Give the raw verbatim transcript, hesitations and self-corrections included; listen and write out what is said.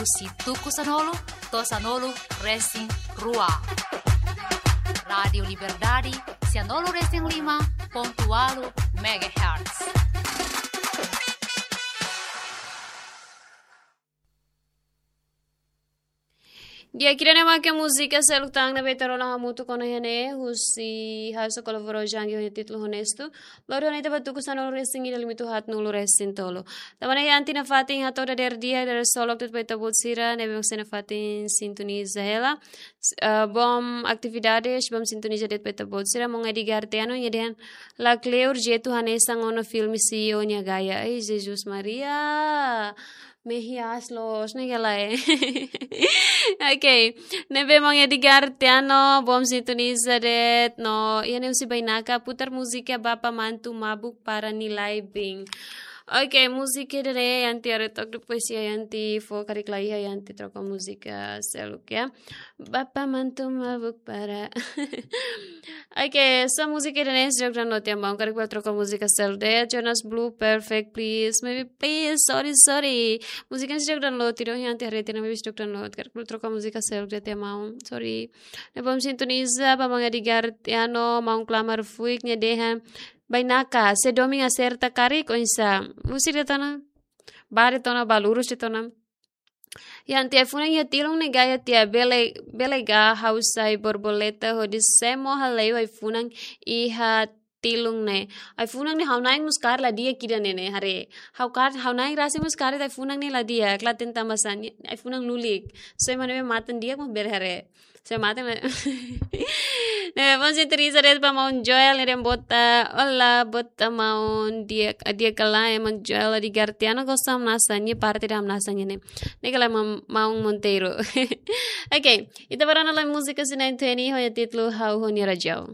Husi tuku sanulu to'o sanulu resin rua. Rádiu Liberdade, sanulu resin lima pontu ualu megahertz. Di'ak, ida-ne'e mak múzika seluk tan ne'ebé ita rona hamutuk ona iha ne'e, husi Hausa Kolabora Jangi ho nia títulu Honestu. Lori ona ita ba tuku sanulu resin ida limitu haatnulu resin tolu. Tanba ne'e iha ita-nia fatin hato'o dadeer di'ak, dadeer solok de'it ba ita-boot sira ne'ebé mak sei nafatin sintoniza hela. S-, eh, bom atividades, bom sintoniza de'it ba ita-boot sira. Maun Edgar Tiano nia dehan lakleur jeitu hanesan ona filme C E O nia gaya. Ai, Jesus Maria. Mehi aas loos, ne'e ka lae. Ok. Ne'ebé maun Edgar Tiano, bom sintoniza de'it, no iha ne'e husi Bainaka, putar múzika Bapa Mantu Mabuk para Nilai Bin. Ok, múzika ida-ne'e iha ita haree took depois iha ita fó karik lai iha ita troka múzika seluk ya. Bapa Mantu Mabuk para. Ok, so múzika ida-ne'e seidauk download tiha maun, karik bele troka múzika seluk de'it. Jonas Blue, Perfect, please. Maybe, please, sorry, sorry. Múzika ne'e seidauk download tiha, iha ita haree tiha, maybe seidauk download. Karik bele troka múzika seluk de'it tiha maun, sorry. Ne'e bom sintoniza ba maun Edgar Tiano, maun Klamar Fuik nia dehan Bainaka, se domin aserta karik oinsá. Múzika de'it ona, ba de'it ona, ba lurus de'it ona. Iha ita ai-funan iha tilun ne'e gaya tiha bele, bele ka ha'u sai borboleta hodi semo hale'u ai-funan iha tilun ne'e. Ai-funan ne'e ha'u-nia ain mós kaer la di'ak ida-ne'e ne'e haree. Ha'u kaer, ha'u-nia ain rasik mós kaer ai-funan ne'e la di'ak, la tenta masan, ai-funan lulik. So ema ne'ebé matan di'ak mak bele haree. So ema matan la. Ne'e, bom sintoniza de'it ba maun Joel, ne'e dehan bota, olá, bota maun, di'ak, di'ak ka lae, maun Joel Edgar Tiano, gosta hamnasa, nia parte ida hamnasa nia ne'e. Ne'e ka lae maun, maun Monteiro. Ok, ita bá rona lai múzika sira-ne'e tuir nia ho nia títulu Ha'u ho nia Rajau.